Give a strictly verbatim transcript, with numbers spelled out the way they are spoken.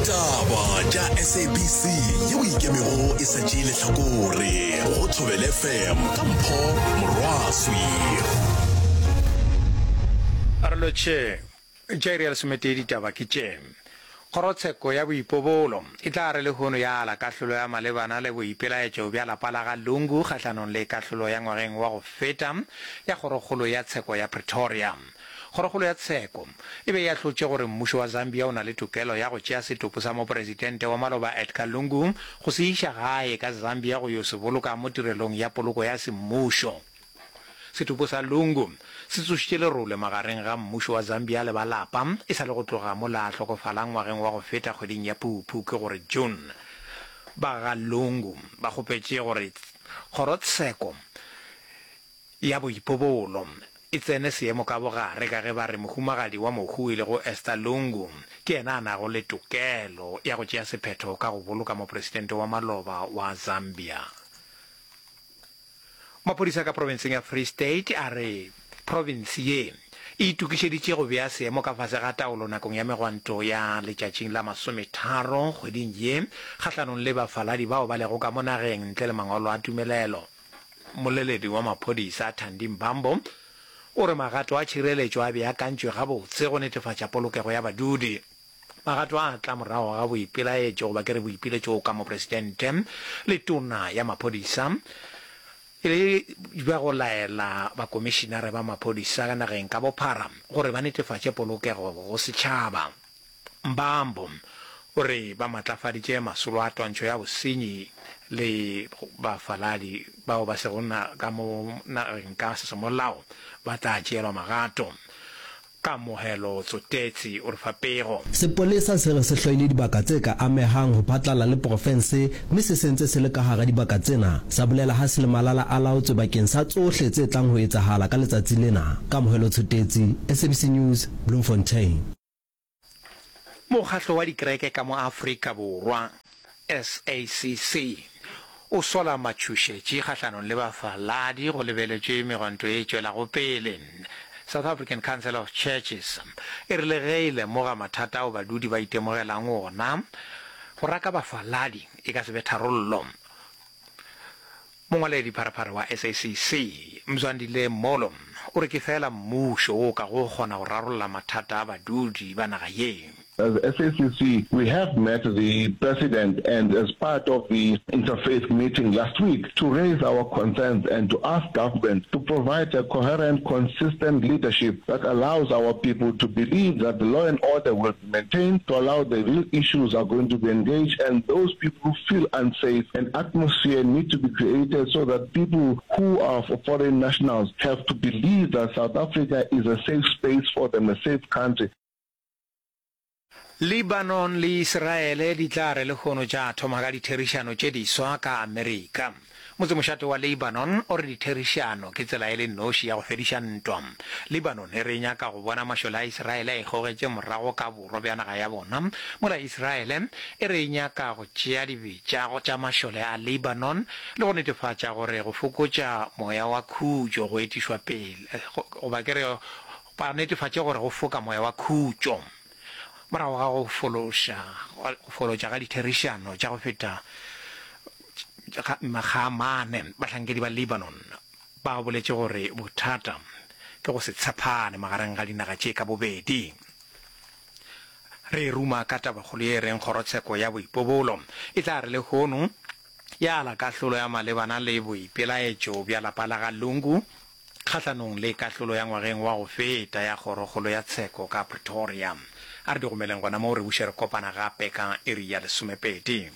Ditaba tša S A B C yeo ikemego e sa tšee lehlakore go Thobela F M ka Mpho Morwaswi. A re lotšhe tša iri ya lesometee. Ditaba ke tše: Kgorotsheko ya boipobolo e tla re lehono ya ala kahlolo ya malebana le boipelaetšo bja lapa la ga Lungu kgahlanong le kahlolo ya ngwageng wa go feta ya Kgorokgolo ya Tsheko ya Pretoria. Kgorokgolo ya Tsheko e be e ahlotše gore mmušo wa Zambia o na le tokelo ya go tšea setopo sa mopresidente wa maloba Edgar Lungu go se iša gae ka Zambia go yo se boloka mo tirelong ya poloko ya semmušo. Setopo sa Lungu se tsošitše lerole magareng ga mmušo wa Zambia le ba lapa e sa le go tloga mola a hlokofala ngwageng wa go feta kgweding ya Phuphu, ke gore June. Ba ga Lungu ba kgopetše gore kgorotsheko ya boipobolo e tsene seemo ka bogare ka ge ba re mohumagadi wa mohu e lego Esther Lungu ke yena a nago le tokelo ya go tšea sephetho ka go boloka mopresidente wa maloba wa Zambia. Maphodisa ka profenseng ya Free State a re province ye e itokišeditše go bea seemo ka fase ga taolo nakong ya megwanto ya letšatšing la masometharo kgweding ye kgahlanong le bafaladi bao ba lego ka mo nageng ntle le mangwalo a tumelelo. Mmoleledi wa maphodisa Thandi Mbambo o re magato a tšhireletšo a beakantšwe gabotse go netefatša polokego ya badudi. Magato a tla morago ga boipelaetšo, goba ke re boipiletšo, ka mopresidente le tona ya maphodisa e le bja go laela bakomišinare ba maphodisa ka nageng ka bophara gore ba netefatše polokego go setšhaba. Mbambo o re ba matlafaditše masolo a twantšho ya bosenyi le bafaladi bao ba sego ka mo nageng ka semolao ba tla tšeelwa magato. Kamohelo Tsotetsi o re fa pego. Sepolesa se re se hloile dibaka tse ka amehang ho phatlalla le porofense mme se sentse se le ka hara dibaka tsena, sa bolela ha se le malala a laotswe bakeng sa tsohle tse tlang ho etsahala ka letsatsi lena. Kamohelo Tshotetsi, S A B C News, Bloemfontein. Mokgatlo wa dikereke ka mo Afrika Borwa, S A C C, o sola matšhošetši kgahlanong le bafaladi go lebeletšwe megwanto ye e tšwelago pele. South African Council of Churches e re le ge e lemoga mathata ao badudi ba itemogelang ona, go raka bafaladi e ka se be tharollo. Mongwaledi pharephare wa S A C C Mzwandile Molo o re ke fela mmušo wo o kago kgona go rarolla mathata a badudi ba naga ye. As S A C C, we have met the president and as part of the interfaith meeting last week to raise our concerns and to ask government to provide a coherent, consistent leadership that allows our people to believe that the law and order will be maintained, to allow the real issues are going to be engaged, and those people who feel unsafe, an atmosphere need to be created so that people who are foreign nationals have to believe that South Africa is a safe space for them, a safe country. Lebanon le Israele di tla re lehono tša thoma ka ditherišano tše diswa ka Amerika. Motsemošate wa Lebanon o re ditherišano ke tsela e le noši ya go fediša ntwa. Lebanon e re e nyaka go bona mašole a Israele a ikgogetše morago ka borwa bja naga ya bona, mola Israele e re e nyaka go tšea dibetša tša mašole a Lebanon le go netefatša gore go fokotša moya wa khutšo go etišwa pele, goba ke re ba netefatše gore go foka moya wa khutšo. Morago ga go fološa go folotša ga ditherišano tša go feta makga a mane, bahlankedi ba Lebanon ba boletše gore bothata ke go se tshepane magareng ga dinaga tše ka bobedi. Re ruma ka tabakgolo ye e reng kgorotsheko ya boipobolo e tla re lehono ya ala kahlolo ya malebana le boipelaetšo bja lapa la ga Lungu kgahlanong le kahlolo ya ngwageng wa go feta ya Kgorokgolo ya Tsheko ka Pretoria. A re di gomeleng gona moo, re buše re kopana gape ka iri ya lesomepedi.